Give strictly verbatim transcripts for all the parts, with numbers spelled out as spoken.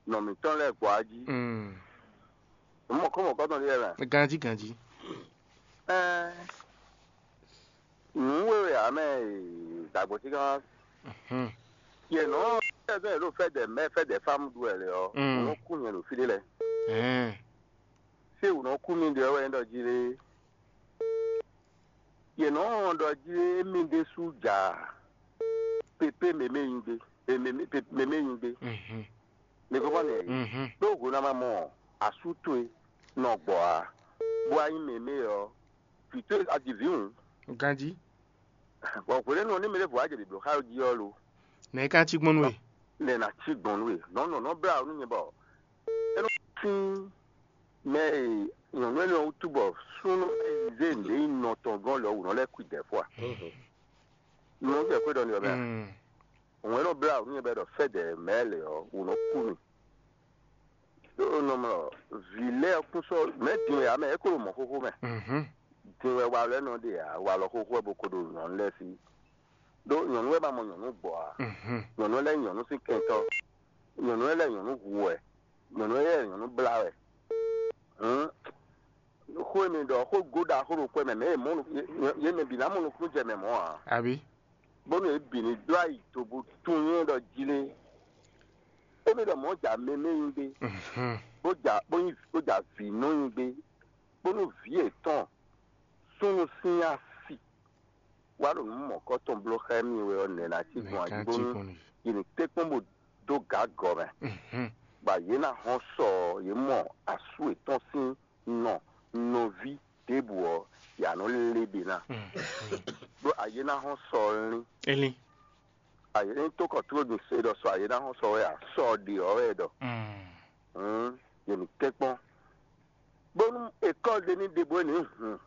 nɔ mǐtɔn lɛ́ɛ gbɔ ají. Mm. Mɔ̌kɔ́mɔ̌kɔ́ tɔn ɖíe mɛ. Ganjí ganjí. Ɛɛ, nǔ wěwe ǎ mɛ, dǎgbó tí kan. Mhm. Yě nɔ tɛ́sɛn yě ɖo fɛ́dɛ mɛ fɛ́dɛ fámu ɖu wɛ lě ɔ́, Mm. wǔ nɔ kú nyɛ ɖo fí ɖé lɛ́ɛ. Ɛɛ. Fí wǔ nɔ kú mì ɖe ɔ́ wɛ nyí ɖɔ jí lé. Yě nɔ wɔn ɖɔ jí émí ɖésú ja pépé mɛmɛ nyi gbé, mɛmɛ nyi gbé. Mhm. Mi kɔkɔ nɛ Mhm. Ɖó hwenu a ma mɔ asú towe nɔ gbɔ ǎ, bó wá nyí mɛmɛ ɔ́, vǐ towe a ji vǐ hǔn. Ganjí. Bɔ hwenu énɛ́ ní mɛ ɖěvo wá jɛ ɖiɖǒ xá jí ɔ́ lo? Nɛ̌ é ka cí gbɔn nú we? Nɛ̌ ná cí gbɔn nú we? Nɔ̌ nɔ nɔ́ blá nú nyɛ bɔ é nɔ sín mɛ e nyɔ̌nu énɛ́ ɔ́ wútu bɔ súnnu zé nǔɖé nyi nɔ tɔn gɔ́n lɛ ɔ́ wǔ nɔ lɛ́ kú i dɛ̌ fó a? Nú jɛ xwé ɖɔ ni ɔ́ mɛ a? Mm. Òun e nɔ blá nǔ nyɛ bɔ é ɖɔ fɛ́dɛ mɛ̌ lě ɔ́, wǔ nɔ kú mì. Ɖó nɔmlɔ vǐ lɛ́ɛ kún sɔ́ mɛ̌ din wɛ ǎ mɛ, é ko ɖo mɔ̌ xóxó mɛ. Mhm. Din wɛ walɔ lɛ́ɛ nɔ ɖe ǎ, walɔ xóxó wɛ bó ko ɖo nyɔ̌nu lɛ́ɛ sí. Ɖó nyɔ̌nu wɛ ma mɔ nyɔ̌nu gbɔ ǎ. Mhm. Nyɔ̌nu lɛ́ɛ nyí nyɔ̌nu sín kɛntɔ́. Nyɔ̌nu lɛ́ɛ nyɔ̌nu hu wɛ. Nyɔ̌nu lɛ́ɛ nyɔ̌nu blá wɛ. Hǔn xó e mi ɖɔ xó go ɖaxó ɖo kwɛ mɛ, mɛ e mɔ nu- yě mɛ bǐ ná mɔ nukúnnú jɛ mɛ mɔ̌ ǎ. Abǐ. Bónú yě bǐ ní dó ayi do bó tunwun nyɛ ɖɔ jí lé. Émí ɖɔ mɔ̌ ja mɛmɛ nyi gbé, Mhm. Bó ja bó nyi bó ja vǐ nɔ nyi gbé, bónú vǐ yětɔn súnnu sín asi wá ɖo nǔ mɔ̌kɔ́tɔn bló xá émí wɛ ɔ́, nɛ̌ ná cí gbɔn Nɛ̌ ká jí ajígbónú gbɔn nú? Yě ní tɛ́nkpɔ́n bó dó gǎ gɔ̌ mɛ. Mhm. Bɔ yě ná hɔn sɔ ɔ́, yě mɔ asú yětɔn sín nɔ nɔví ɖěbǔ ɔ́, yě ná nɔ lé ɖě ná. Mhm. Ɖó ayé ná hɔn sɔ ɔ́ lín. Elín. Ayé ní tó kɔ tló ɖo se ɖɔ sɔ ayé ná hɔn sɔ wɛ a, sɔ ɔ́ ɖe ɔ́ wɛ ɖɔ. Mm. Hǔn yě ní tɛ́nkpɔ́n. Bónú ekɔ́ ɖé ní ɖe bó ní hun.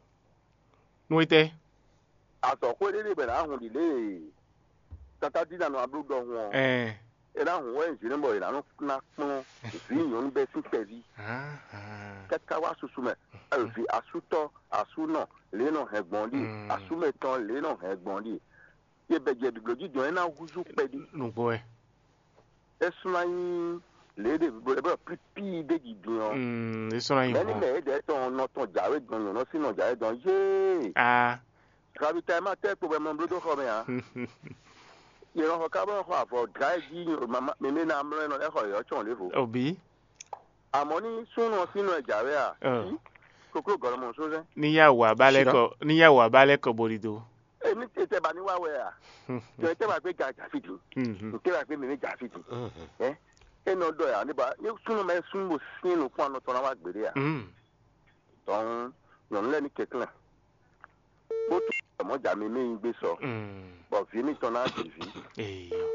Nú étɛ́? Azɔ̌xwé ɖé ɖe bɔ è nǎ hun ɖi lě e Tata Dina nɔ ablú ɖɔhun ɔ́. Ɛɛ. É ná hun wɛ zǐnú bɔ è nǎ nɔ ná kplɔ́n vǐ nyɔ̌nu bɛ́ sín kpɛví. Káká wá susu mɛ, vǐ asútɔ́, asúnɔ, lě e nɔ hɛn gbɔn ɖíe, asúmɛtɔn, lě e nɔ hɛn gbɔn ɖíe. Yě bɛ jɛ ɖiɖǒ jí dɔn é ná húzú kpɛɖí. Nǔgbó wɛ. É sú ná nyí lě e ɖe vǐ bó lɛ́ bɔ pípí ɖé ji din ɔ́. Mm, é sú ná nyí Mɛ̌ ní hɔn. Mɛ é ɖɛ̌ tɔn nɔ tɔn jǎwe gbɔn nyɔ̌nu sín nɔ jǎwe dɔn yéé. A. Ravitaillement tɛ́ kpo bɔ è mɔ bló dó xɔ mɛ ǎ. Yě nɔ xɔ ká bó nɔ xɔ avɔ dlǎ e jí mǐmí ná mlɔ́ ɛ nɔ lɛ́ xɔ yě ɔ́ cɔn ɖěvo. Òbí. Àmọ́ ní súnnu ɔ́ sín nɔ ɛ jǎwe a? Ɔ. Sí, kokló gɔlɔ mɔ só sɛn. Ní yá wǎ bá lɛ́ Ṣìnà. Kɔ ní yá wǎ bá lɛ́ kɔ bo ɖi do. Èmi tẹ tẹ bá ní wá wɛ à? Tẹ tẹ bá gbé ga jà fìdí. Mhm. Tẹ bá gbé mèmí jà fìdí. Ɛ? É nɔ ɖɔ yà níbà ní súnnu mɛ súnnu bó sín nukún anɔ tɔn ná wá gbèdé à? Mm. Tɔn nyɔ̌nu lɛ́ɛ ní kɛnklɛ́n. Bó tún mɔ̌ jà mèmí nyi gbé sɔ. Mm. Bɔ vǐ mitɔn ná ɖi vǐ. Eyɔ.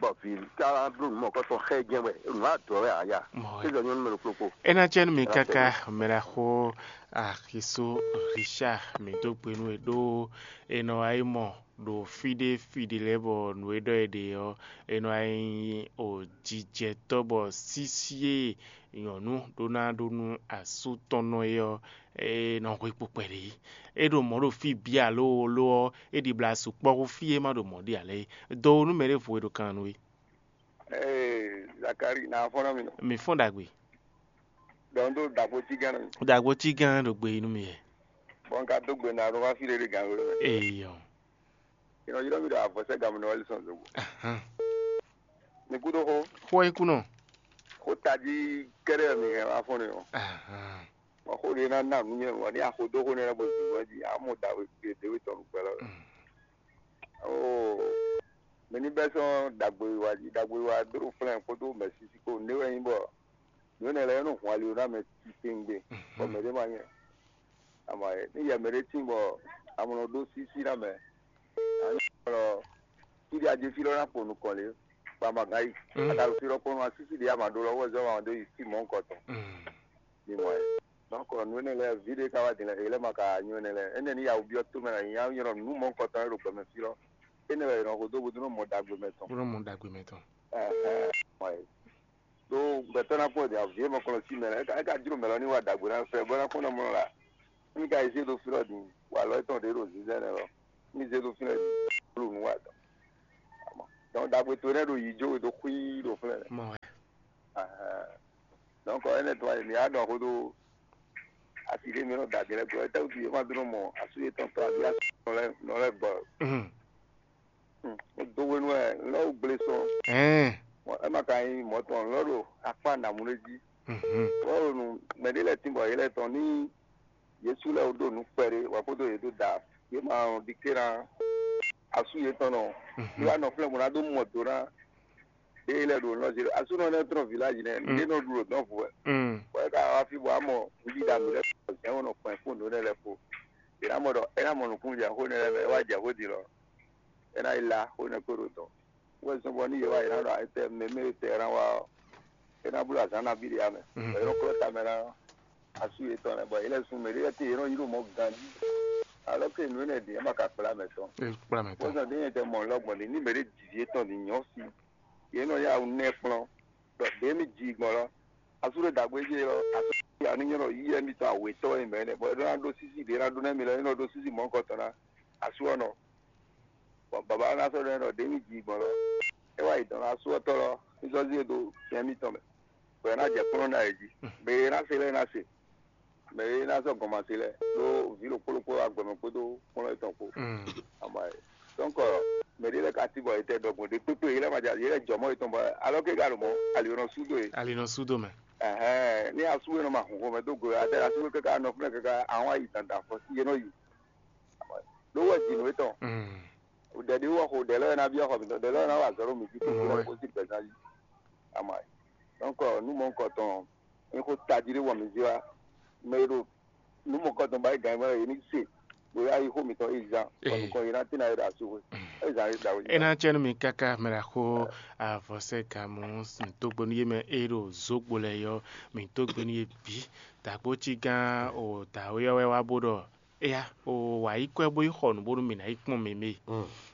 Bɔ vǐ ká bló nǔ mɔ̌kɔtɔn xɛ jɛ́n wɛ, nǔ adɔ wɛ ǎ ya. Mɔ wɛ. Sísɔ nyɔ́nu mɛ ɖokpó kpo. É ná jẹ́ nú mi káká mɛ ɖaxó Axiso Richard mi dó gbe nú e ɖó è nɔ wá yi mɔ ɖo fí ɖé fí ɖé lɛ́ɛ bɔ nǔ e ɖɔ è ɖe ɔ́, è nɔ wá nyí o jijɛtɔ́ bɔ sísí e nyɔ̌nu ɖó ná ɖó nú asú tɔn nɔ é ɔ́, é nɔ hwe kpukpɛ ɖě. É ɖo mɔ̌ ɖo fí bǐ alo lo ɔ́, é ɖibla sukpɔ́ hú fí e má ɖo mɔ̌ ɖe ǎ lɛ́ɛ é. Dɔ wo nú mɛ ɖěvo e ɖo kan nú we. Ee, Zakari, na fɔ́n nɔ mi nɔ. Mi fɔ́n ɖagbe. Dɔn ɖo dagbo tigán nɔ mi. Dagbo tigán ɖo gbe yi nú mi yɛ. Bɔn ka dó gbe na ɖo wá fí ɖé ɖé gǎn wé mɛ. Eyɔ. Inɔ yrɔ mi ɖo avɔsɛ gǎn mi nɔ wali sɔn zogo. Ahan. Mi kú ɖó xó. Xó e kú nɔ. Xó tají kɛɖɛ mi hɛn wá fɔ́n nɔ. Ahan. Bɔn xó ɖé ná ná nǔ nyɛ wɔ ní axo dó xó nɛ bɔ zǐngbɔn jí amɔ dagbo ɖé wé tɔn nukpɛ lɔ. Mm. Oo, mɛ ní bɛ́ sɔ́ ɖagbowiwa jí, ɖagbowiwa dó flɛ́n kpódó mɛ̌sísí kpó. Nǔɖé wɛ nyí bɔ nǔ énɛ́ lɛ́ɛ nɔ hun ali ná mɛ titewungbe, bɔ mɛ ɖé ma nyɛ. Ama yɛ ní yɛ mɛ ɖé tín bɔ amɔ nɔ ɖó sísí ná mɛ. Anyɔ lɔ, fí ɖé adé fí lɔ ná kpo nukɔn lě, bɔ ama gán yi. Mm. Ata ɖo fí lɔ kpɔ́n nú asísí ɖé ama ɖó lɔ wɛ zɔ́n ma ɖó yi fí mɔ̌hunkɔtɔn. Mm. Mi mɔ ɛ. Donc nǔ énɛ́ lɛ́ɛ ví ɖé ka wá din lɛ, è lɛ́ ma ka nyɔ́ énɛ́ lɛ́ɛ. Énɛ́ ní ya wǔ byɔ́ tómɛ ná nyí nyɔ́ nǔ mɔ̌hunkɔtɔn e ɖo gbɛmɛ fí lɔ. Énɛ́ wɛ è nɔ xo dó bó dó nɔ mɔ ɖagbe mɛ tɔn. Bó nɔ mɔ ɖagbe mɛ tɔn. Ɛhɛn, mɔ ɛ. Ɖó gbɛtɔ́ ná kpɔ́n ɖě avǐ e mɔ kɔn sí mɛ lɛ, é ka jló mɛ lɔ ní wa ɖagbe ná fɛ, bó ná kpɔ́n ná mɔ la. Ní ka yi zé ɖo fí lɔ din, wa lɔ étɔn ɖě ɖo zínzɛ́n nɛ́ lɔ. Ní zé ɖo fí lɔ din, bó ɖo nǔ wa tɔn. Donc ɖagbe towe nɛ́ ɖo yǐ jó we dó xwí ɖo flɛ́. Mɔ ɛ. Ɛhɛn. Donc, énɛ́ tɔn wá yi mǐ á ɖɔ xó dó asi ɖé mǐ nɔ da din lɛ́ɛ gɔ́, étɛ́wútu yě ma dó nɔ mɔ asú yětɔn tɔn abí asú nɔ lɛ́ɛ nɔ lɛ́ɛ gbɔ? Dó hwenu wɛ lɔ́ wú gblé sɔ́. Ɛ má ka nyí mɔ̌ tɔn lɔ́ ɖo akpá nǎmú ɖé jí. Lɔ́ ɖo nu mɛ ɖé lɛ́ɛ tín bɔ yě lɛ́ tɔn ní Jezu lɛ́ɛ wú ɖo nǔ kpɛɖé wɛ kpódó yě dó da yě ma ɖi ké ná asú yětɔn nɔ. Yě wá nɔ flɛ́ bó ná dó mɔ do ná ɖé lɛ́ɛ ɖo nɔ zé asúnɔ nɛ́ trɔ́n vǐláji nɛ́ ɖé nɔ ɖu ɖo dɔn vǔ wɛ. Bɔ é ka wá fí bɔ amɔ nǔɖiɖa mǐ lɛ́ɛ kɔ zɛ̌n wɔ nɔ kpɛn fún nǔ nɛ́ lɛ́ɛ kpo. È nǎ mɔ ɖɔ é ná mɔ nǔkúnnu jɛ xó nɛ́ lɛ́ɛ mɛ é wá jɛ xó din lɔ. É ná yi lá xó nɛ́ kó ɖo dɔn. Wɛ zɔn bɔ ní yě wá yě ná ɖɔ ayetɛ mɛ mɛ tɛ ná wá ɔ́, é ná bló azǎn nabí ɖé amɛ. Bɔ yě nɔ klɔ́ tamɛ ná asú yětɔn lɛ́ɛ bɔ yě lɛ́ sun mɛ ɖé lɛ́ɛ te yě nɔ yi ɖo mɔ ganjí. Alɔ ke nǔ énɛ́ ɖě é ma ka kplá mɛ tɔn. Kplá mɛ tɔn. Wɛzɔn ɖé nyɛ tɛ mɔ lɔ gbɔn ɖě ní mɛ ɖé ji vǐ étɔn ní nyɔ́ sí. Yě nɔ yá wú nɛ́ kplɔ́n. Ɖɔ ɖě mì ji gbɔn lɔ. Asú ɖé dǎgbé jɛ lɔ asú ya ní nyɔ́ ɖɔ yí ɛmí tɔn awětɔ́ wɛ mɛ nɛ bɔ é ɖó ná ɖó sísí ɖě ná ɖó nɛ́ mi lɔ é nɔ ɖó sísí mɔ̌hunkɔtɔn ná. Asú ɔ́ nɔ. Bɔ baba ɔ́ ná sɔ́ ɖɔ ɖɔ ɖě mì ji gbɔn lɔ. É wá yi dɔn asú ɔ́ tɔ́ lɔ ní zɔ́ zí e dó fɛn mítɔn mɛ. Bɔ é ná jɛ kplɔ́n ná yě jí. Mɛ e ná se lɛ́ɛ ná se. Mɛ e ná zɔ gɔnmase lɛ́ɛ ɖó vǐ ɖokpó ɖokpó wá gbɛmɛ kpódó kplɔ́n yětɔn kpó. Ama yɛ. Donc mɛ ɖé lɛ́ɛ ka cí bɔ yě tɛ ɖɔgbɔn ɖé kpékpé yě lɛ́ɛ ma jɛ yě lɛ́ɛ jɔ mɔ yětɔn bɔ alɔ ké ka ɖo mɔ ali nɔ sú dó yě. Ali nɔ sú dó mɛ. Ɛhɛn ní asú e nɔ ma hun xomɛ dó go atɛ asú e kaka nɔ fúnɛ kaka àwọn ayi dandan fɔ sí yé nɔ yi. Ɖó wɛ jǐnú yětɔn. Ɖɛ̌ ɖé wɔ xo ɖɛ̌ lɛ́ɛ ná byɔ́ xɔ mǐtɔn ɖɛ̌ lɛ́ɛ ná wa azɔ̌ ɖo mǐ jí kó kó sí gbɛ̌zán jí. Ama yɛ. Donc nú mɔ̌hunkɔtɔn nyí xó tají ɖé wɔ mǐ zé wá. Mɛ e ɖo nǔ mɔ̌kɔtɔn ba é gǎn mɛ é ní se bóyá yi xó mǐtɔn é zán bɔ nukɔn yi ná tín ayé ɖo asúxwé é zán ayé ɖo awé. É ná cɛ́ nú mi káká mɛ ɖo axó avɔsɛ́ gamɔ mǐ dó gbe nú yé mɛ é ɖo zǒgbo lɛ́ɛ yɔ mǐ dó gbe nú yé bǐ. Dǎgbó cí gán o dǎwe ɔ́ wɛ wá bó ɖɔ éyá o wǎ yi kwɛ́ bó yi xɔ nǔ bónú mǐ ná yi kpɔ́n mɛ mɛ.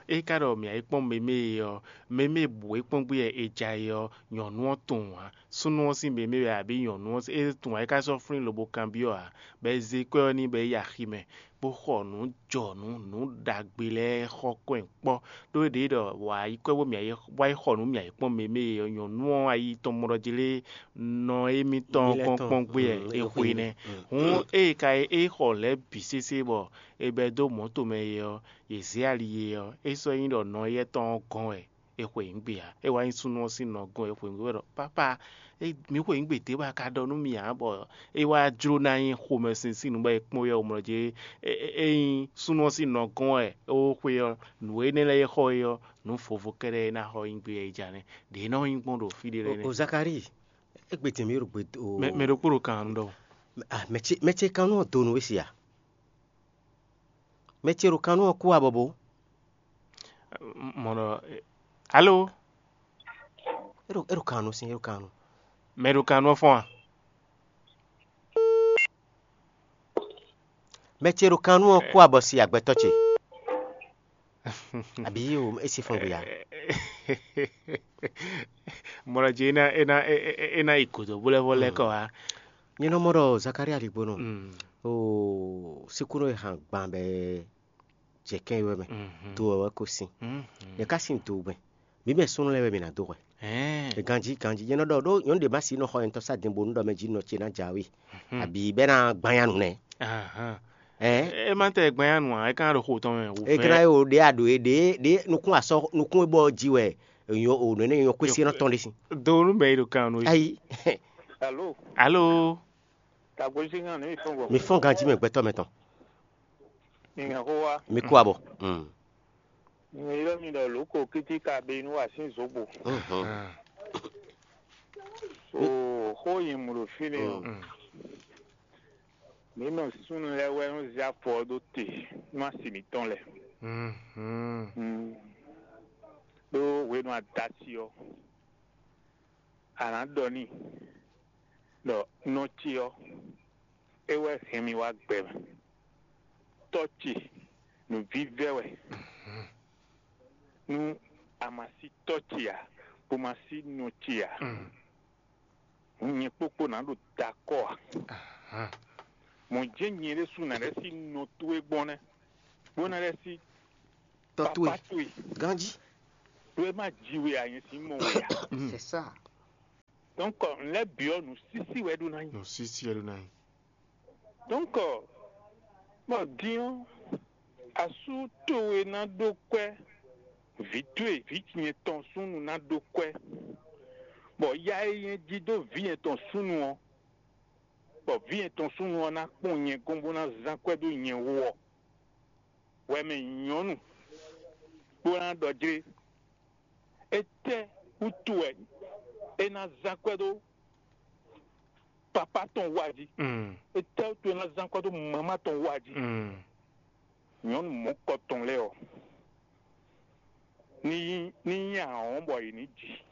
É ka ɖɔ mǐ ná yi kpɔ́n mɛ mɛ ɔ́ mɛ mɛ bǔ é kpɔ́n gbé wɛ è ja é ɔ́ nyɔ̌nu ɔ́ tunwun ǎ. Súnnu ɔ́ sín mɛ mɛ wɛ abǐ nyɔ̌nu ɔ́ é tunwun ǎ é ka sɔ́ flín lobo kanbyɔ́ ǎ. Bɔ è zé kwɛ́ ɔ́ n'i bɔ é yi axi mɛ bó xɔ nǔ jɔnǔ nǔ ɖagbe lɛ́ɛ xɔ kɔn kpɔ́. Ɖó é ɖě ɖɔ wǎ yi kwɛ́ bó mǐ wá yi xɔ nǔ mǐ wá yi kpɔ́n mɛ mɛ e nyɔ̌nu ɔ́ ayi tɔn mɔ ɖɔ jí lé nɔ émítɔn kpɔ́n kpɔ́n gbé wɛ é xwe nɛ́. Hǔn ée ka é xɔ lɛ̌ bǐ sésé bɔ è bɛ́ dó mɔ̌ tomɛ é ɔ́, yě zé ali é ɔ́, é sɔ́ nyí ɖɔ nɔ éyɛ́ tɔn ɔ́ gɔ́n wɛ. È xweyǐgbe ǎ. É wá nyí súnnu ɔ́ sín nɔ gɔ́n è xweyǐgbe wɛ ɖɔ pápá, mǐ xweyǐgbe dě bɔ a ka ɖɔ nú mì ǎ bɔ é wá jló ná nyí xomɛsin sín nǔ bɔ è kpɔ́n yɛ mlɔ jí é nyí súnnu ɔ́ sín nɔ gɔ́n wɛ é wó xwe ɔ́, nǔ énɛ́ lɛ́ɛ e xɔ é ɔ́, nǔ vovo kɛ́ɖɛ́ é ná xɔ nyí gbé yɛ é ja nɛ́. Ɖě é nɔ nyí gbɔn ɖo fí ɖé lɛ́ɛ nɛ́. O Zakari, é gbe tɛn mì ɖo gbe o. Mɛ mɛ ɖokpó ɖo kan ɖɔ. Ah, mɛ ce mɛ ce kan nɔ do nǔ we si a? Mɛ ce ɖo kan nɔ kú abɔbɔ. Mɔ ɖɔ alo. Eɖo eɖo kan nɔ sin eɖo kan nɔ. Mɛ ɖo kan nɔ fɔn a? Mɛ ce ɖo kan nɔ kú abɔ si agbɛtɔ ce. Abi o esi fɔn gbe ya. Mɔ ɖɔ dzi ena ena ena yi godo bó lɛ vɔ lɛ kɔ wa. Nyɛ nɔ mɔ ɖɔ Zakaria ɖi gbɔnɔ. O sikúnɔ yi hàn gbàn bɛ jɛ kɛn yi wɛ mɛ. Do wɛ wɛ ko sin. Ɖeka sin do mɛ. Mi mɛ súnnu lɛ wɛ mi na do hwɛ. Ganji ganji nyɛ nɔ ɖɔ ɖo nyɔnu ɖe ma si nɔ xɔ yɛn tɔ sa din bonu ɖɔ mɛ ji nɔ ce na jawe. Abi bɛ na gbanya nu nɛ. Ɛ ma tɛ gbanya nu a ɛ kan ɖo xo tɔn mɛ. E kana ye o ɖe a ɖo ye ɖe ɖe nukun asɔ nukun e bɔ ji wɛ. Nyɔ o nɔ ne nyɔ kwesi nɔ tɔn ɖe si. Do nu mɛ yi ɖo kan nu. Ayi. Alo. Alo. Tagbozingan ní mi fɔn bɔ. Mi fɔn ganji mɛ gbɛtɔ mɛ tɔn. Mi hɛn xó wa. Mi kú abɔ. Mi ylɔ́ mi ɖɔ lǒ ko kíti ka be nú wa sín zǒgbo. Oo xó yi mǔ ɖo fínɛ́ o. Mǐ mɔ súnnu lɛ́ɛ wɛ nɔ zé afɔ ɔ́ ɖó te nú asi mǐtɔn lɛ́ɛ. Ɖó hwenu adasi ɔ́, a nǎ ɖɔ n'i ɖɔ nɔ ce ɔ́, é wɛ hɛn mì wá gbɛ mɛ. Tɔ́ ce nǔvívɛ́ wɛ. Nú a ma sí tɔ́ ce ǎ, bó ma sí nɔ ce ǎ, nyɛ kpókpó nǎ ɖo dakɔ́ ǎ. Mɔ̌ jɛ́n nyɛ ɖésú nǎ lɛ́ sí nɔ towe gbɔn nɛ́, bó ná lɛ́ sí tɔ́ towe papá towe. Ganjí. Ɖó é má ji we ǎ, nyɛ sín mɔ we ǎ. C'est ça. Donc, n lɛ́ byɔ́ nǔsísí wɛ ɖó ná nyí. Nǔsísí wɛ ɖó ná nyí. Donc, bɔ din ɔ́, asú towe ná ɖó kwɛ́ vǐ towe, vǐ ce nyɛ tɔn súnnu ná ɖó kwɛ́, bɔ ya e nyɛ jí dó vǐ nyɛ tɔn súnnu ɔ́, bɔ vǐ nyɛ tɔn súnnu ɔ́ ná kpɔ́n nyɛ gɔ́n bó ná zán kwɛ́ dó nyɛ wú ɔ́, wɛ mɛ nyɔ̌nu bó ná ɖɔ jlé. Étɛ́ wútu wɛ é ná zán kwɛ́ dó papá tɔn wá jí? Mm. Étɛ́ wútu é ná zán kwɛ́ dó mamá tɔn wá jí? Mm. Nyɔ̌nu mɔ̌kɔ tɔn lɛ́ɛ ɔ́, ní nyí ní nyí ahɔ̌n bɔ yě ní ji.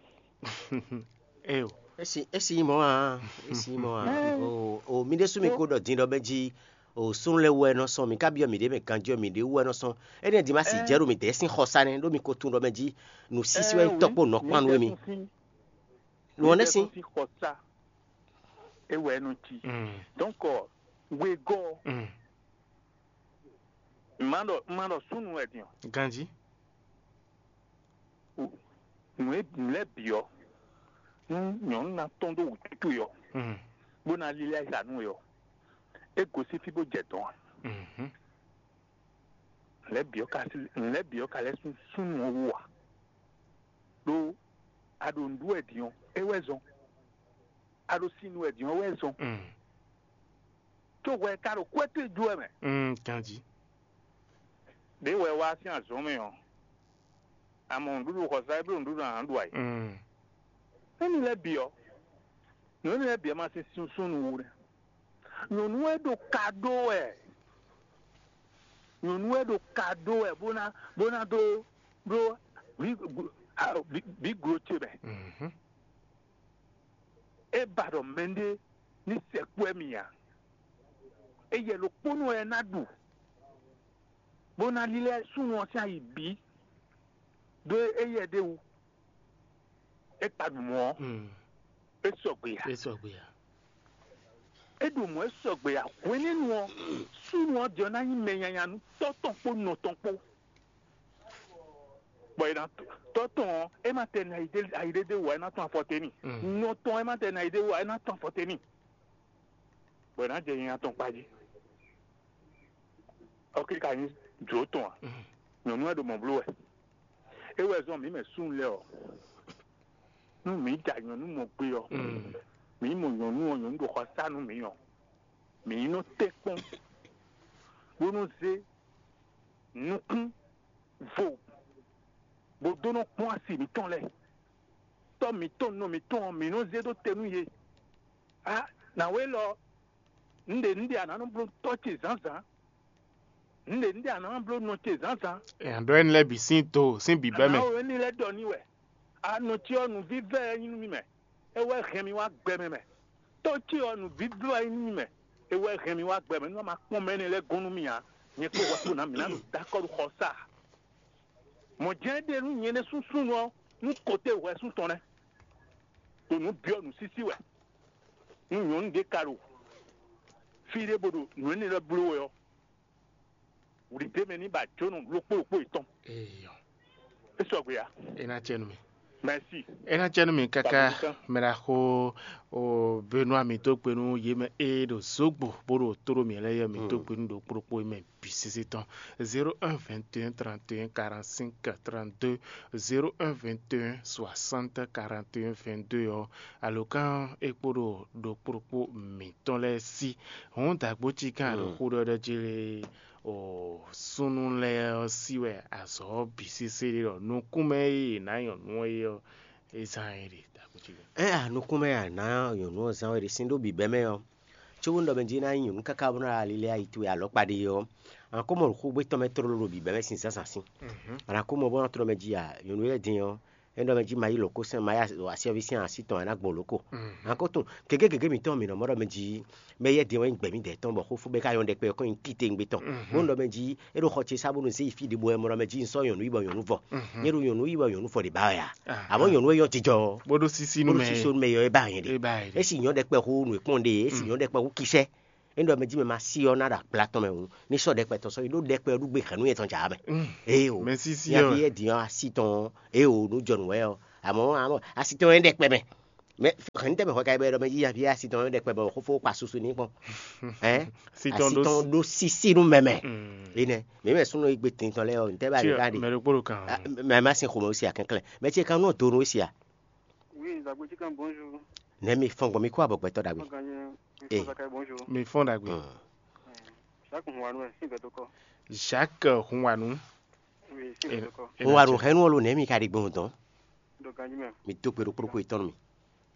Eyo. Esi esi nyí mɔ̌ ǎ, esi nyí mɔ̌ ǎ. O o mi ɖésú mi ko ɖɔ din ɖɔ mɛ jí o súnnu lɛ́ɛ wú wɛ nɔ sɔn, mi ka byɔ́ mǐɖée mɛ ganjí ɔ́, mǐɖée wú wɛ nɔ sɔn. Énɛ́ din ma si jɛ ɖo mǐdɛɛ sín xɔsá nɛ́, ɖó mi ko tunwun ɖɔ mɛ jí nǔsísí wɛ nyí tɔ́kpó nɔkpán nú émí. Nǔ ɔ́ nɛ́ sín. Sín xɔsá é wɛ nɔ cí. Mm. Donc, wegɔ́, Mm. má ɖɔ má ɖɔ súnnu wɛ din ɔ́. Ganjí. Nǔ e nǔ lɛ́ɛ bǐ ɔ́, nú nyɔ̌nu ná tɔ́n dó wǔtútú ɔ́, Mm. bó ná lílɛ́ ayǐ nú we ɔ́, é gosín fí bó jɛ dɔ̌n ǎ. Mhm. Nǔ lɛ́ɛ bǐ ɔ́ ka nǔ lɛ́ɛ bǐ ɔ́ ka lɛ́ sú súnnu ɔ́ wú ǎ. Ɖó a ɖo nǔɖuɖu wɛ din ɔ́, é wɛ zɔn. A ɖo sin nu wɛ din ɔ́, wɛ zɔn. Mm. Có hwɛ ka ɖo kwɛ́ towe ju wɛ mɛ. Mm, ganjí. Ɖě hwɛ wá sín azɔ̌ mɛ ɔ́, a mɔ nǔɖuɖu xɔsá, é bló nǔɖuɖu a nǎ ɖu ayǐ. Mm. Énɛ́ lɛ́ɛ bǐ ɔ́, nǔ énɛ́ lɛ́ɛ bǐ ɔ́ ma sín súnsún nu wú nɛ́. Nyɔ̌nu e ɖo ka ɖó wɛ, nyɔ̌nu e ɖo ka ɖó wɛ bó ná bó ná dó ɖó vǐ vǐ glo ce mɛ. Mhm. É ba ɖɔ mɛɖé ní sɛkpɔ́ ɛ mì ǎ. Éyɛ́ ɖokpónɔ wɛ é ná ɖu, bó ná lílɛ́ súnnu ɔ́ sín ayi bǐ ɖó éyɛ́ ɖé wú. É kpa ɖu mɔ̌ ɔ́, Mm. é sɔgbe ǎ. É sɔgbe ǎ. É ɖo mɔ̌ é sɔgbe ǎ. Hwenɛ́nu ɔ́, súnnu ɔ́ din ɔ́ ná nyí mɛ nyanya nú tɔ́ tɔn kpó nɔ tɔn kpó. Bɔ è nǎ tɔ́ tɔn ɔ́, é ma tɛ nɔ ayi ɖé wǎ é ná tɔn afɔ te n'i. Mm. Nɔ tɔn é ma tɛ nɔ ayi ɖé wǎ é ná tɔn afɔ te n'i. Bɔ è nǎ jɛ nyanya tɔn kpa jí. Ɔ́ ké ka nyí jǒ tɔn a? Mm. Nyɔ̌nu wɛ ɖo mɔ̌ bló wɛ. É wɛ zɔ́n mǐ mɛ súnnu lɛ́ɛ ɔ́, nú mǐ ja nyɔ̌nu mɔ gbe ɔ́, Mm. mǐ mɔ nyɔ̌nu ɔ́, nyɔ̌nu ɖo xɔ sá nú mǐ ɔ́, mǐ ní nɔ tɛ́ kpɔ́n bó nɔ́ zé nukún vo bó dó nɔ́ kpɔ́n asi mǐtɔn lɛ́ɛ. Tɔ́ mǐtɔn nɔ mǐtɔn ɔ́, mǐ nɔ́ zé ɖó te nú yě. A nǎwe lɔ, un ɖe un ɖe a nǎ nɔ bló tɔ́ ce zǎnzǎn. Un ɖe un ɖe a nǎ nɔ bló nɔ ce zǎnzǎn. Nya ɖɔ ɛni lɛ́ɛ bǐ sín do sín bǐbɛ́ mɛ. Anǎwe ní lɛ́ ɖɔ n'i wɛ. Anɔ ce ɔ́, nǔvívɛ́ wɛ nyí nú mì mɛ. É wɛ hɛn mi wá gbɛ mɛ mɛ. Tɔ́ ce ɔ́, nǔvívɛ́ wɛ nyí nú mì mɛ. É wɛ hɛn mi wá gbɛ mɛ. Nú ma kpɔ́n mɛ énɛ́ lɛ́ɛ gɔ́n nú mì ǎ, nyɛ kpó hwɛ kpó ná mǐ ná ɖo dó akɔ́ ɖo xɔ sá. Mɔ̌ jɛ́n é ɖe nú nyɛ ɖésú súnnu ɔ́, nú kote hwɛsún tɔn nɛ́, ɖo nǔ byɔ́ nǔsísí wɛ. Nú nyɔ̌nu ɖé ka ɖo fí ɖé bó ɖo nǔ énɛ́ lɛ́ɛ bló wɛ ɔ́, wlǐ d'é mɛ ní ba jónɔ ɖokpó ɖokpó yětɔn. Eyɔ. É sɔgbe ǎ. É ná cɛ nú mi. Merci. É ná cɛ nú mi káká. Mɛ ɖaxó o Benoît, mi tó kpe nú yě mɛ e ɖo zǒgbo bó ɖo tó ɖo mǐ lɛ́ɛ yɔ, mi tó kpe nú ɖokpó ɖokpó mɛ bǐ sésé tɔn. Zéro un vingt et un trente et un quarante-cinq trente-deux, zéro un vingt et un soixante quarante et un vingt-deux ɔ́, alǒkan é kpó ɖo ɖokpó ɖokpó mǐtɔn lɛ́ɛ sí. Hǔn dǎgbó cí gán ɖo xó ɖɔɖɔ jí lé o súnnu lɛ́ɛ ɔ́ sí wɛ azɔ̌ ɔ́ bǐ sésé ɖé ɖɔ nukúnmɛ e è nǎ nyɔ̌nu ɔ́ é ɔ́, é zán é ɖe dǎgbó cí gán. Ɛ a nukúnmɛ a nǎ nyɔ̌nu ɔ́ zán wɛ ɖe sín ɖó bǐbɛ́ mɛ ɔ́, cóbónú ɖɔ mɛ jí ná nyí nyɔ̌nu káká bó ná ɖo ali lɛ́ɛ ayi towe alɔ̌kpa ɖe ɔ́, a nǎ ko mɔ ɖo xógbé tɔn mɛ tlóló ɖo bǐbɛ́ mɛ sín zǎnzǎn sín. A nǎ ko mɔ bó ná tlɔ́ mɛ jí a nyɔ̌nu lɛ́ɛ din ɔ́, é ɖɔ mɛ jí ma yí lǒ kó sɛn ma yí asyɔ́ví sín así tɔn ɛ ná gbɔn lǒ ko. A nǎ ko tunwun gěgé gěgé mǐtɔn mǐ nɔ mɔ ɖɔ mɛ jí mɛ yɛ din wɛ nyí gbɛ̌mídɛɛ tɔn bɔ xófó bɛ́ ká nyɔ́ ɖɛkpɛ ɔ́ kɔn nyi titewungbe tɔn. Bó nɔ ɖɔ mɛ jí é ɖo xɔ ce sá bónú zé yi fí ɖěbǔ wɛ mɔ ɖɔ mɛ jí un sɔ́ nyɔ̌nu yí bɔ nyɔ̌nu vɔ. Nyɛ ɖo nyɔ̌nu yí bɔ nyɔ̌nu vɔ ɖě ba wɛ a? Amɔ̌ nyɔ̌nu e nyɔ́ jijɔ ɔ́, bó ɖó sísí nú bó ɖó mɛ. Sísí nú mɛ yɔ é ba nyɛ ɖe. É ba nyɛ ɖe. É si nyɔ̌ ɖɛkpɛ xó nǔ e kplɔ́n ɖe, é si nyɔ̌ ɖɛkpɛ xó kisɛ. É ɖɔ mɛ jí mɛ ma sí ɔ́ ná ɖo akpla tɔn mɛ hǔn, ní sɔ́ ɖɛkpɛ tɔn sɔ́ yi ɖó ɖɛkpɛ ɔ́ ɖu gbe hɛ̌nnu yɛtɔn jà mɛ. Éeǒ. Mɛ sísí nya ɔ́. Fi yɛ din ɔ́, así tɔn ɔ́, éeǒ, nǔ jɔ nǔ wɛ ɔ́. Amɔ̌ amɔ̌ así tɔn ɔ́ é ɖɛkpɛ mɛ. Mɛ hɛn tɛ mɛ xɔ ka bɛ ɖɔ mɛ yíya via si tɔn ɖɛkpɛ bɔ xófó kpa susu ní kpɔn. Hɛn? Si tɔn Asi ɖó tɔn ɖó sisi nú mɛmɛ. Mm. Ene. Mɛ mɛ súnú igbe tin tɔn lɛ ɔ, ntɛ ba Tí ɖe ka ɖe. Mɛ ɖokpó ɖo kan. Mɛ ma sin xomɛ osi akɛnklɛ. Mɛ ce kan nɔ do nu osi a. Oui, Zagbe Chicken, bonjour. Nɛ mi fɔn gbɔn mi kó abɔ gbɛtɔ dagbe. Fɔn ganye, mi Eh. Fɔn Zakayi, bonjour. Mi fɔn dagbe. Mm. Jacques Hunwanu, ɛ, sin gbɛtɔ kɔ. Jacques Hunwanu. Oui, sin gbɛtɔ kɔ. Hunwanu hɛn nu ɔlo nɛ mi ka ɖi gbɔn dɔn. Ɖo ganji mɛ. Mi do gbe ɖo kplɔkpɔ etɔn mi.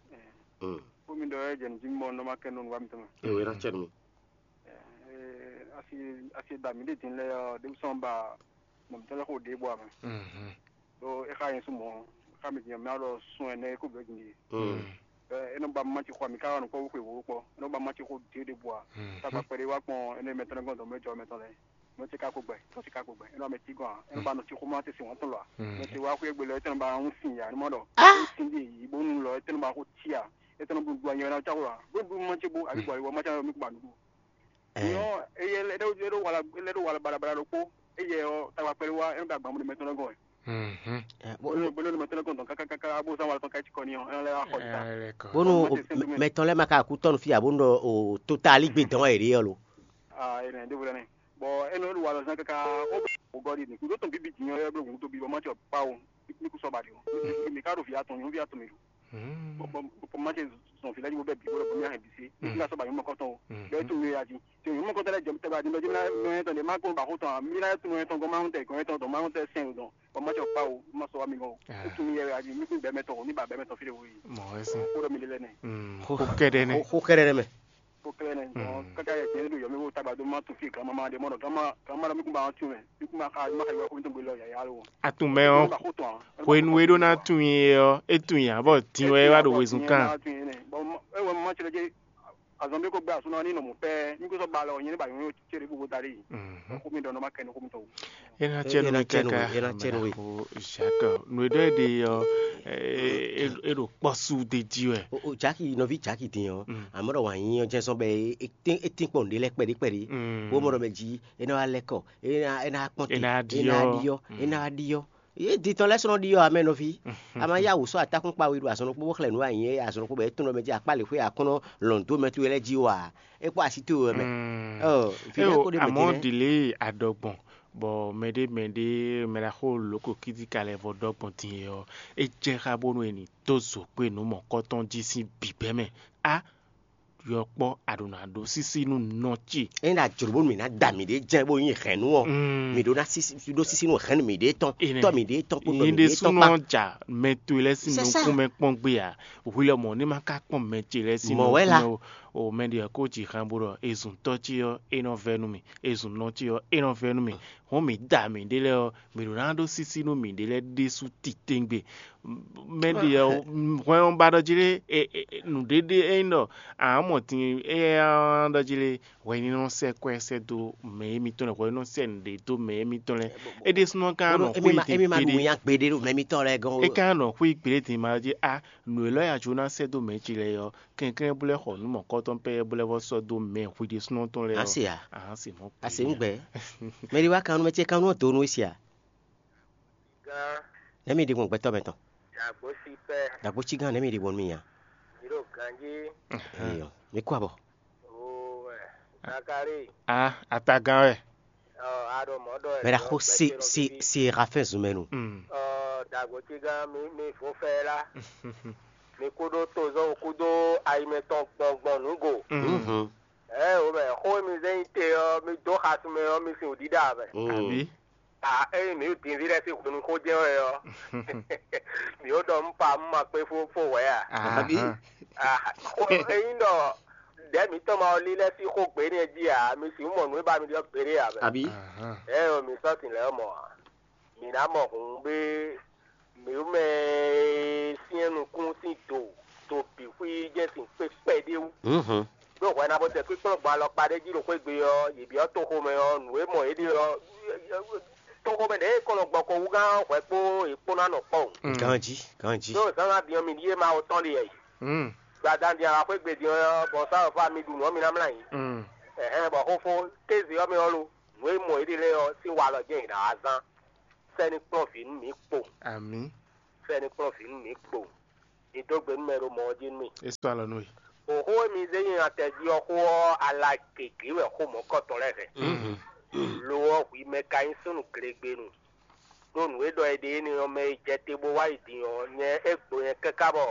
Mm. Ko mi ɖɔ ɛ jɛ nji mɔ nɔ ma kɛ nɔ nu wa mi tɔn. E wɛ na cɛ mi. Asi asi da mi ɖe din lɛ ɔ, ɖe sɔn ba mɔ mi tɔn lɛ ko ɖe bɔ a mɛ. Mhm. Ɖo e xa nyi sumɔ, e xa mi din mɛ alɔ sun ɛnɛ ko bɛ din. Mm. Ɛ, e nɔ ba ma ci xɔ mi ka nɔ kpɔ xwe wo kpɔ. E nɔ ba ma ci xɔ de de bɔ a. Mhm. Tagba kpɛɖe wa kpɔn ene mɛ tɔn gɔn dɔ mɛ jɔ mɛ tɔn lɛ. Mɛ tɛ ka ko gbɛ, tɔ tɛ ka ko gbɛ. E nɔ mɛ ti gɔn a. E nɔ ba nɔ ci xɔ ma te sin wɔn tɔn lɔ a. Mm. Mɛ tɛ wa xwe gbelɔ e tɛ nɔ ba ŋu sin ya, ni mɔ dɔ. Ah! E sin de yi bo nu lɔ, e tɛ nɔ ba xɔ ci a. E tɛ nɔ bu bu anyɛ na ca xɔ a. Bo bu ma ci bo, abi bɔ a yi wɔ ma ca mi ko ba nu. Ɛ. Nyɔ eye lɛ ɖo lɛ ɖo wala lɛ ɖo wala balabala ɖokpó. Eye ɔ tagba kpɛɖe wa e nɔ da gbɔn mɛ tɔn lɛ gɔn. Mhm. Ɛ, bo- Bolo bolo mɛ tɔn lɛ gɔn dɔn kaka kaka abo san wala tɔn ka ci kɔ ni ɔ e nɔ lɛ wa xɔ ta. Ɛ, lɛ kɔ. Bónú Ɔmɔ tɛ sɛn mɛ- mɛtɔn lɛ́ɛ ma ka kú tɔ́nu fí ǎ bónú ɖɔ o tótálí gbé dɔn wɛ yě ɖe ɔ́ lo. Ah, e nɛ ɖevo lɛ nɛ. Bon, e nɔ ɖo wala zan kaka o bɛ o gɔ di ni. Kudo tɔn bibi di nyɔ yɛ bɛ gun to bi bɔ ma cɔ pa o. Ni ku sɔ ba di o. Mi ka ɖo via tɔn nyɔ via tɔn mi do. Bɔ bɔ bɔ ma cɛ zɔn fi lɛ ji bo bɛ bi bo lɛ bɔ mi ahɛn bi se. Mi ka sɔ ba nyɔ mɔkɔ tɔn o. Bɛ tu mi ya ji. Te nyɔ mɔkɔ tɛ lɛ jɛ tɛ ba di lɔ ji mi na nyɔ tɔn de ma ko ba ko tɔn. Mi na tu nyɔ tɔn gɔn ma tɛ gɔn tɔn dɔn ma tɛ sɛn o dɔn. Bɔ ma cɔ pa o, ma sɔ wa mi gɔn o. Ah. Tu mi ya ya ji mi kun bɛ mɛ tɔn o, ni ba bɛ mɛ tɔn fi de wo yi. Mɔ wɛ sɛn. Ko dɔ mi de lɛ nɛ. Mm. Ko kɛɖɛ nɛ. Ko kɛɖɛ nɛ mɛ. Ko kɛɖɛ nɛ. Mm. Kaka yɛ tiɲɛ do yɔ mi wo tagba do ma tu fi gama ma de mɔ dɔ gama gama dɔ mi kun ba tu mɛ. Mi kun ma ka ma ka yɔ ko mi to gbe lɔ ya ya lo. Atun mɛ ɔ, Ba ko tɔn. Hwenu e ɖó ná tunwun é ɔ́, é tunwun ǎ bɔ din wɛ é wá ɖo wezun kan. Bɔ e wɛ ma cɛ lɛ azɔn bi ko gbɛ asunɔ ni nɔ mɔ pɛ. Mi ko sɔ ba lɔ nyɛ ne ba yɔ ce de bu ko da de. Mhm. Ko mi dɔ nɔ ma kɛ nɔ ko mi tɔ. É ná cɛ nú mi káká. É ná cɛ nú we. Jacques, nǔ e ɖɔ é ɖe ɔ́, é ɖo kpɔ́ sú d'é jí wɛ. O Jaki, nɔví Jaki din ɔ́, àmọ́ ɖɔ wǎn yí ɔ́ jɛ́n sɔ́ bɛ é tín kpɔ́n ɖé lɛ́ɛ kpɛɖé kpɛɖé. Bó mɔ ɖɔ mɛ jí é ná wá lɛ́ kɔ, é ná kpɔ́n te, é ná ɖyɔ́, é ná ɖyɔ́. É di tɔn lɛ́ɛ sɔ́ nɔ ɖyɔ́ amɛ nɔví. A ma yá wǔ sɔ́ atákún kpa we ɖo azɔn ɖokpó bó xlɛ́ nǔ anyi é azɔn ɖokpó bɔ é tɔn ɖɔ mɛ jí akpá lě xwé akɔ́nɔ lɔn dó mɛ towe lɛ́ɛ jí wǎ. É kpó así towe wɛ mɛ. Ɔ, vǐ lɛ́ɛ kó ɖe mɛ amɔ din lɛ́ɛ. Ɖi lě adɔgbɔn bɔ mɛɖé mɛɖé mɛɖaxó lǒkɔ kídíka lɛ́ɛ vɔ ɖɔgbɔn din é ɔ́, é jɛ xá bónú è nǐ dó zǒ kpé nǔ mɔ̌kɔtɔn jí sín bǐbɛ́ mɛ. Á yɔkpɔ́ a ɖǒ ná ɖó sísí nú nɔ ce. Ényí ɖo ajlǒ bónú mǐ ná da mǐɖée jɛ́n bó nyí hɛ̌nnu ɔ́, mǐ ɖó ná sísí ɖó sísí nú hɛ̌nnu mǐɖée tɔn, tɔ mǐɖée tɔn kpódɔ mǐɖée tɔn kpá. Nyɛɖésúnɔ ja mɛ towe lɛ́ɛ sín nukún mɛ kpɔ́n gbé ǎ. Hwi lɔ mɔ̌ ní ma ka kpɔ́n mɛ ce lɛ́ɛ sín nukún mɛ ó. O mɛ ɖě ɔ́ kó ji han bó ɖɔ e zun tɔ́ ce ɔ́, é nɔ vɛ́ nú mì; e zun nɔ ce ɔ́, é nɔ vɛ́ nú mì. Hɔn mǐ da mǐɖée lɛ́ɛ ɔ́, mǐ ɖó ná ɖó sísí nú mǐɖée lɛ́ɛ ɖésú titewungbe. Mɛ ɖě ɔ́, hwɛn ɔ́ ba ɖɔ jí lé, nǔɖéɖé é nyí ɖɔ a nǎ mɔ din éyɛ́ ɔ́ ɖɔ jí lé, hwɛ ní nɔ sɛ́ kwɛ́ sɛ́ dó mɛ émítɔn lɛ́ɛ, hwɛ ní nɔ sɛ́ nǔɖé dó mɛ émítɔn lɛ́ɛ. É ɖésúnɔ ka nɔ xwé din émí ma ɖu gbeɖé. Nya gbeɖé ɖo mɛ émítɔn lɛ́ɛ gɔ́n ó. É ka nɔ xwé gbeɖé din ma jí a nǔ élɔ́ ya jó ná sɛ́ dó mɛ ce lɛ́ɛ ɔ́, kɛnklɛ́n bó lɛ́ xɔ nǔ mɔ̌kɔtɔn pɛ́ bó lɛ́ vɔ sɔ́ dó mɛ hwi ɖésúnɔ tɔn lɛ́ɛ ɔ́. A se a? A se mɔ̌. A se nú gbɛ. Mɛ ɖé wá kan nú mɛ ce kan nú dǒ nú é se a? Gán. Nɛ̌ mi ɖi gbɔn gbɛtɔ́ mɛ tɔn? Dàgbó sí pɛ́. Dàgbó cí gán nɛ̌ mi ɖi gbɔn nú mi nya? Mi ɖo ganjí. Eyɔ, mi kú abɔ. Owó ẹ̀. Zakari. A atagán wɛ. Ɔ aɖo mɔ̌ ɖɔ ẹ̀. Mɛ ɖaxó se se se rafɛn zun mɛ nu. Ɔ dàgbó cí gán mi mi vó fɛ lá. Mi kú ɖó tozɔ́ kú ɖó ayi mɛtɔn gbɔngbɔn nǔgo. Ɛ o mɛ xó mi zɛ nyi te ɔ́, mi dó xasun mɛ ɔ́, mi sin wǔɖiɖa mɛ. Àbí? A eye mǐ ɖo dinví lɛ́ɛ sín hwenu xó jɛ́n wɛ ɔ́, mǐ ɖo ɖɔ un pa un ma kpé fó fó hwɛ̌ a? Àbí? Xó ényí ɖɔ ɖɛ̌ mǐtɔn ma wɔ lílɛ́ sín xó gbě nɛ́ jí ǎ, mi sixú mɔ nǔ e ba mi ɖɔ gbeɖé ǎ mɛ. Àbí? Ɛ o mǐ sɔ́ sin lɛ̌ mɔ ǎ. Mǐ ná mɔ hǔn ɖé mǐ mɛ e syɛ́n nukún sín do do bǐ xwí jɛ́n sin kpé kpɛɖé wú. Ɖó hwɛ ná bó tɛ kpíkplɔ́n gbɔn alɔkpa ɖé jí ɖo xwé gbe ɔ́, yě byɔ́ toxomɛ ɔ́, nǔ e mɔ yě ɖe ɔ́, toxomɛ ɖě e kɔn nɔ gbɔ ko wú gán ɔ́ hwɛ kpó yě kpó ná nɔ kpɔ́ o. Ganjí, ganjí. Ɖó zǎnzǎn din ɔ́, mi ɖíe Mawu tɔn ɖe wɛ yi. Gbadán din ala xwé gbe din ɔ́, bɔ sá wɛ fá mi ɖu nǔ ɔ́, mi ná mlá yǐ. Ɛhɛn, bɔ xóxó kéze ɔ́ mɛ ɔ́ lo, nǔ e mɔ yě ɖe lɛ́ɛ ɔ́ sín walɔ jɛ́n yě ná wá zán. Sɛ́ ní kplɔ́n vǐ nú mǐ kpo. Amǐ. Sɛ́ ní kplɔ́n vǐ nú mǐ kpo. Mi dó gbe nú mɛ ɖo mɔ̌ ɔ́ jí nú mì. É sɔ́ alɔ nú we. Xó e mi zé nyi atɛ jí ɔ́ xó ɔ́, ala gěgé wɛ xó mɔ̌kɔtɔn lɛ́ɛ hɛn. Lo ɔ́, hwi mɛ ka nyí súnnu glegbenu. Ɖó nǔ e ɖɔ è ɖe énɛ́ ɔ́ mɛ e jɛ te bó wá yi din ɔ́, nyɛ é gbo nyɛ káká bɔ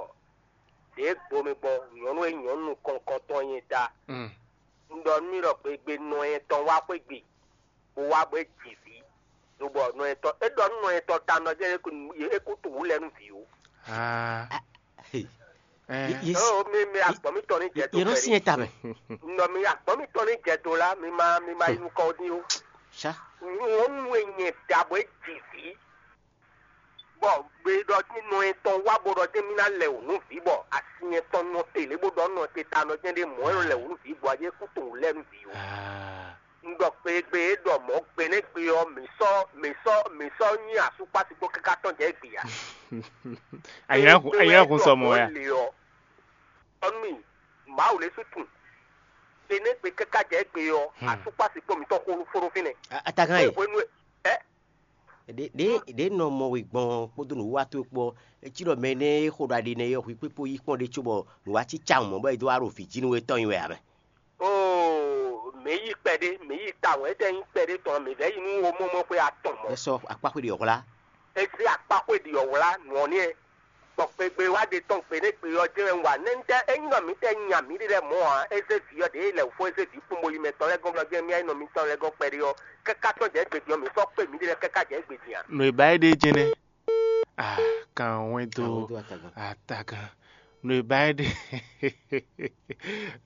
ɖě gbo mi gbɔn nyɔ̌nu e nyɔ̌nu nukɔn tɔn nyɛ ta. Un ɖɔ nú mi ɖɔ gbegbe nɔ nyɛ tɔn wá xwé gbe, bó wá bó é ji vǐ, lobɔ nɔ nyɛ tɔn é ɖɔ nú nɔ nyɛ tɔn ta nɔ jɛ́n é kú tunwun lɛ́ɛ nú vǐ ó. Aa, Ye- ye- Ɔ, mi mi agbɔn mi tɔn ní jɛ do yɛ nɔ kpɛɖi. Sinyɛ ta mɛ. Nɔ mi agbɔn mi tɔn ní jɛ do la, mi ma mi ma yi nukɔ dín ó. Sa. Nyɔnu e nyɛ da bɔ é ji vǐ. Bɔ gbe ɖɔ dín nɔ etɔn wá bó ɖɔ dín mi ná lɛ wǔ nú vǐ bɔ asi etɔn nɔ te lě bó ɖɔ nɔ te ta nɔ jɛ́n ɖé mɔ̌ e nɔ lɛ wǔ nú vǐ bɔ ayé kú tunwun lɛ́ nú vǐ ó. Un ɖɔ kpeyegbe e ɖɔ mɔ̌ gbe nɛ́ gbe ɔ́, mǐ sɔ́ mǐ sɔ́ mǐ sɔ́ nyi asúkpási kpó káká tɔn jɛ gbe ǎ. Ayǐhún ayǐhún sɔ mɔ ya. Le ɔ́, ɔnú Mawu lě sú tun. Gbe nɛ́ gbe káká jɛ gbe ɔ́, asúkpási kpó mǐtɔn xó fó ɖó fínɛ́. Atakan e. Hwenu e ɛ Ɖě ɖě ɖě nɔ mɔ we gbɔn kpódó nǔwiwa towe kpó ɔ́, é cí ɖɔ mɛ énɛ́ e xo ɖo aɖi nɛ́ é ɔ́, hwi kpé kpó yí kpɔ́n ɖé cóbɔ nǔ wá cí cawun mɔ̌ bɔ é dó wá ɖo vǐ jí nú we tɔn nyi wɛ ǎ mɛ. Oo, mǐ yi kpɛɖé, mǐ yi tawun, étɛ́ nyí kpɛɖé tɔn, mǐ vɛ́ yi nú omɔ́mɔ́ xwé atɔn mɔ̌. É sɔ́ akpáxwé ɖi ɔ́ hwlá. É zé akpáxwé ɖi ɔ́ hwlá nǔ ɔ́ nɛ́, bɔ kpegbe wá ɖe tɔn gbe nɛ́ gbe ɔ́ jɛ́n wɛ un wa nɛ́ ntɛ́ é nyí ɖɔ mǐ tɛ nya mǐɖée lɛ́ɛ mɔ̌ ǎ, é zé vǐ ɔ́ ɖě lɛwǔfó é zé vǐ kpónbó yi mɛ tɔn lɛ́ɛ gɔ́n bɔ jɛ́n mì wá nyí nɔ mitɔn lɛ́ɛ gɔ́n kpɛɖé ɔ́, káká tɔn jɛ égbé din ɔ́, mǐ sɔ́ kpé mǐɖée lɛ́ɛ káká jɛ égbé din ǎ. Nǔ e ba é ɖe jɛ́n nɛ́. Ah, kan wɛn dó Kan wɛn dó atagan. Atagan. Nǔ e ba é ɖe.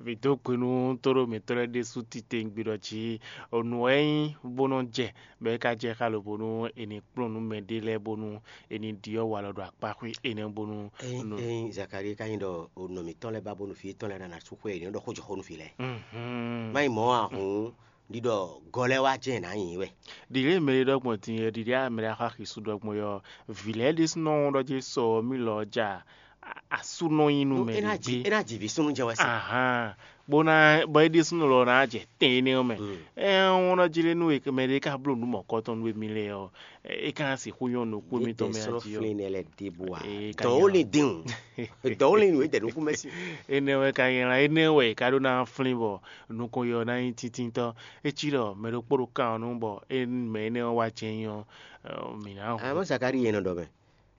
Mǐ dó gbe nú tóɖó mǐtɔn lɛ́ɛ ɖésú titewungbe ɖɔ jí nǔ wɛ é nyí bó nɔ́ jɛ, bɔ é ka jɛ xá lobo nú è nǐ kplɔ́n nú mɛɖé lɛ́ɛ bónú è nǐ ɖyɔ́ walɔ ɖo akpáxwé énɛ́ bónú Ényí nú ényí Zakalíi ka nyí ɖɔ nɔ mǐtɔn lɛ́ɛ ba bónú vǐ yětɔn lɛ́ɛ ná ná sú xwé, è nǐ nɔ ɖɔ xó jɔ xó nú vǐ lɛ́ɛ. Mhm. Má nyí mɔ̌ ǎ hǔn, ɖiɖɔ gɔ lɛ́ɛ wá jɛ́n è nǎ nyi wɛ. Ɖi lě e mɛ e ɖɔ gbɔn din é, ɖiɖi a mɛ ɖé axɔ axi su ɖɔ gbɔn é ɔ́, vǐ lɛ́ɛ ɖésúnɔ wɔn ɖɔ jɛ́n sɔ ɔ́ mì lɔ ɔ́ ja asú nɔ nyí nú mɛ É ná ɖě ji gbé. É ná ji vǐ súnnu jɛ́n wɛ se. Ahán, bó ná bɔ é ɖésúnɔ lɔ ná jɛ tɛn énɛ́ ɔ́ mɛ. Mm. Ɛ wɔn ɖɔ jí lé nú we mɛ ɖé ka bló nǔ mɔ̌kɔtɔn nú émí lɛ́ɛ ɔ́, é ka ná sixú nyɔ́ nukún émítɔn mɛ a jí ɔ́. Flín lɛ́ɛ lɛ́ɛ ɖěbǔ ǎ. Ee, ka Dɔ̌ ó nyɔ́. Lin dín o. Dɔ̌ ó lin nǔ é dɛ nukún mɛ sí. Énɛ́ wɛ ka nyí lan, énɛ́ wɛ è ka ɖó ná flín bɔ nukɔn yɔ ná nyí tíntítɔ́. É cí ɖɔ mɛ ɖokpó ɖo kan ɔ́ nú bɔ é mɛ énɛ́ ɔ́ wá jɛ nyí ɔ́, mǐ ná hu. Àmọ́ Zakalíi yẹn nɔ ɖɔ mɛ.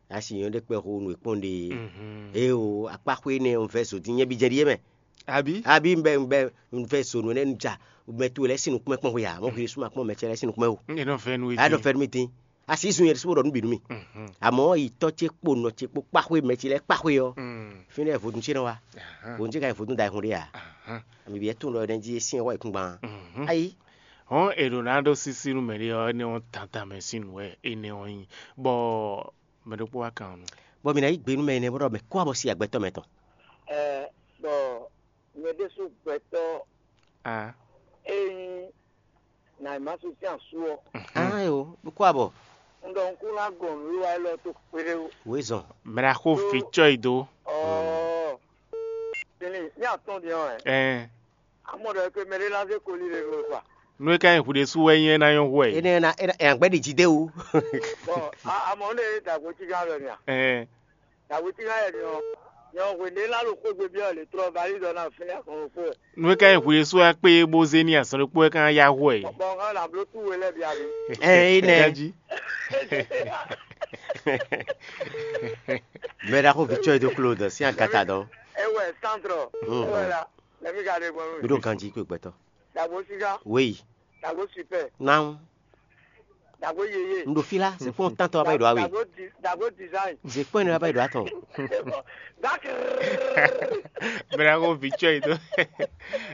Asi nyɔ ɖe kpɛ xo nú e kpɔn ɖe. Mhm. Eo akpaxwe ne un vɛ so din nyɛ bi jɛ ɖi yɛ mɛ. Abi? Abi un bɛ un bɛ un vɛ so nú ne un ja mɛ to lɛ sin nukpɔn kpɔn xwe ya mɔ xwe suma kpɔn mɛ cɛ lɛ sin nukpɔn o. E nɔ fɛ nu A dɔ eti. Fɛ nu mi tin. Asi sun yɛ so ɖɔ nu bi nu mi. Mhm. Amɔ yi tɔ ce kpo nɔ ce kpo kpaxwe mɛ ce lɛ kpaxwe ɔ. Mm. Fi ne vodun ce nɔ wa. Aha. Vodun ce ka yi vodun da hun ɖe ya. Aha. Ami bi etun lɔ ne ji sin wa ikun gban. Mhm. Ayi. Hɔn e ɖo na ɖo sisi nu mɛ ɖe ɔ ne wɔn tantan mɛ sin nu wɛ e ne wɔn nyi. Bɔ mɛ ɖokpó wá kan ɔ́ nu. Bɔ mǐ ná yí gbe nú mɛ énɛ́ bó ɖɔ mɛ kó abɔ si agbɛtɔ́ mɛ tɔn. Ɛ, bɔ nyɛ ɖésú gbɛtɔ́ A. E nyí Naimasu sín asú ɔ́, Ayo, kó abɔ. Un ɖɔ un kún ná gɔn nǔwiwa élɔ́ tó kpéɖé wú. Wezɔn. Mɛ ɖaxó vǐ cɔ́ yi dó. Ɔɔ, tini ní atɔ́n din ɔ́ ɛ. Ɛn. Amɔ ɖɔ é pé mɛ ɖé ná zé koli ɖe nú we kpa. Nú é ka nyí hwi ɖésú wɛ nyí é ná nyɔ́ hwɛ. Énɛ́ ná é ná é ná gbɛ́ ɖi jí dé wú. Bɔn amɔ un ɖe dagbo cí gán lɔ nya. Ɛn. Dagbo cí gán yɛ ni ɔ, nyɔ hwe ɖé ná ɖo xwégbe byɔ́ le trɔ bali dɔ ná fínɛ́ xɔn xó. Nú é ka nyí hwi ɖésú wɛ kpé bó zé ní azɔn ɖokpó wɛ ká ná yá hwɛ. Bɔn ká ná bló tú we lɛ bia mi. Ɛn é nɛ. Gaji. Mɛ ɖaxó vǐ cɔ́ yi dó kló dɔ sín agata dɔn. Ewɛ santrɔ. Mm. Ewɛ la. Lɛmi ka ɖe gbɔn Mi mi. Ɖo ganji kó gbɛtɔ. Dagbo sika. Wéyi. Dagbo sipɛ. Nan. Dagbo yeye. N ɖo fí lá, zé kpɔ́n tantɔ aba yi ɖo awe. Dagbo di dagbo design. Zé kpɔ́n ne aba yi ɖo atɔ. Dakr. Mɛ ɖaxó vǐ cɔ́ yi dó.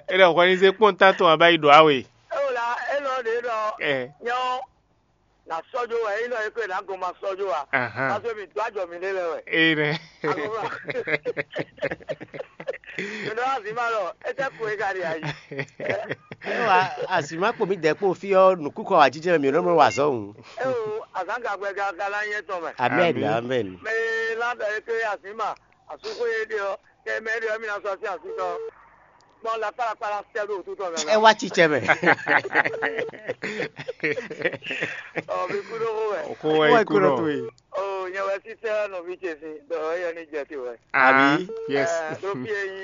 E ɖɔ hwɛ ní zé kpɔ́n tantɔ aba yi ɖo awe. Ewo la, e nɔ ɖe nɔ. Ɛ. Nyɔ. Na sɔjo wɛ, e nɔ e ko na gɔn ma sɔjo wa. Ahan. Parce que mi do ajɔ mi ne lɛ wɛ. Ee nɛ. Agɔba. Nɔ azima lɔ, ete ko e ka ɖi ayi. Ewa, azima kpo mi dɛ kpo fi ɔ nukukɔ wa jijɛ mi nɔ mɔ wa zɔ ŋu. Eo, azan gagbɛ ga gala nyɛ tɔn mɛ. Amen, amen. Mɛ la bɛ ke azima, asuko ye de ɔ, kɛ mɛ de ɔ mi na sɔ si asu tɔ. Kpɔn la kpala kpala sɛ do tu tɔ mɛ. Ɛ wa tsitsɛ mɛ. Ɔ, mi ku do ko wɛ. Ko wɛ ku do. Nyɛ wɛ sísɛ nɔví ce sín ɖɔ éyɛ́ ní jɛ te wɛ. Àbí? Yes. Ɖó fí e nyí